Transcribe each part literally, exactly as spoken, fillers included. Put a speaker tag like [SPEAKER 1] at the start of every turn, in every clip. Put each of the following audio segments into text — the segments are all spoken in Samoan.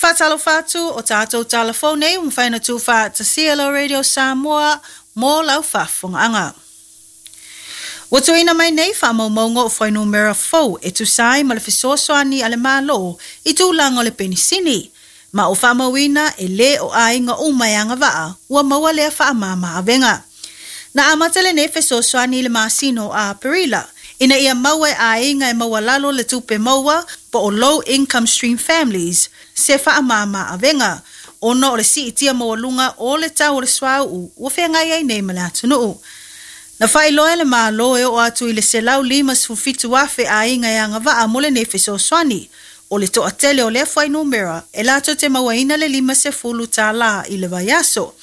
[SPEAKER 1] Faatalofa atu o tatou talafou nei ua mafai ona tuufaatasia lau Radio Samoa mo lau faafofogaaga. Ua tuuina mai nei faamaumauga o fuainumera fou e tusa ai ma le fesoasoani a le Malo i tulaga o le penisini, ma o faamauina e lē o aiga uma e agavaa ua maua lea faamama-avega. Na amata lenei fesoasoani i le masina o Aperila ina ia maua e aiga e maualalo le tupe maua po o low income stream families se faamama-avega ona o le siitia maualuga o le tau o le suauu ua feagai ai nei ma le atunuu. Na faailoa e le Malo e oo atu i le selau limasefulu fitu afe aiga e agavaa mo lenei fesoasoani. O le toatele o lea fuainumera e latou te mauaina le limasefulu tālā i le vaiaso.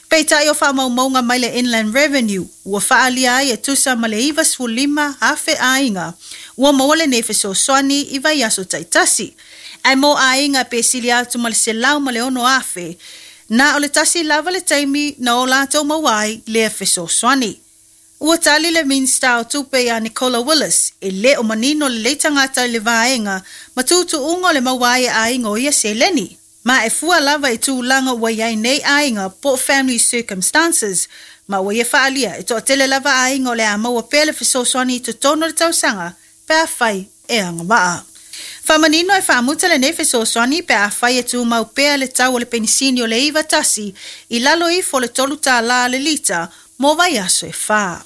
[SPEAKER 1] Peitai o faamaumauga mai le Inland Revenue ua faaalia ai e tusa ma le ivasefulu lima afe aiga ua maua lenei fesoasoani i vaiaso taitasi. Ae mo aiga pe sili atu ma le selau ma le ono afe, na o le tasi lava le taimi na o latou maua ai lea fesoasoani. Ua tali le Minisita o Tupe ia Nicola Willis e lē o manino lelei tagata i le vaega ma tuutuuga o le maua ai e aiga o ia seleni. Ma e fua lava i tulaga ua i ai nei aiga po o family circumstances, ma ua ia faaalia e toatele lava aiga o le a maua pea le fesoasoani i totonu o le tausaga pe afai e agavaa. Faamanino e faamuta lenei fesoasoani pe afai e tumau pea le tau o le penisini o le iva tasi i lalo ifo o le tolu tālā le lita mo vaiaso e fa.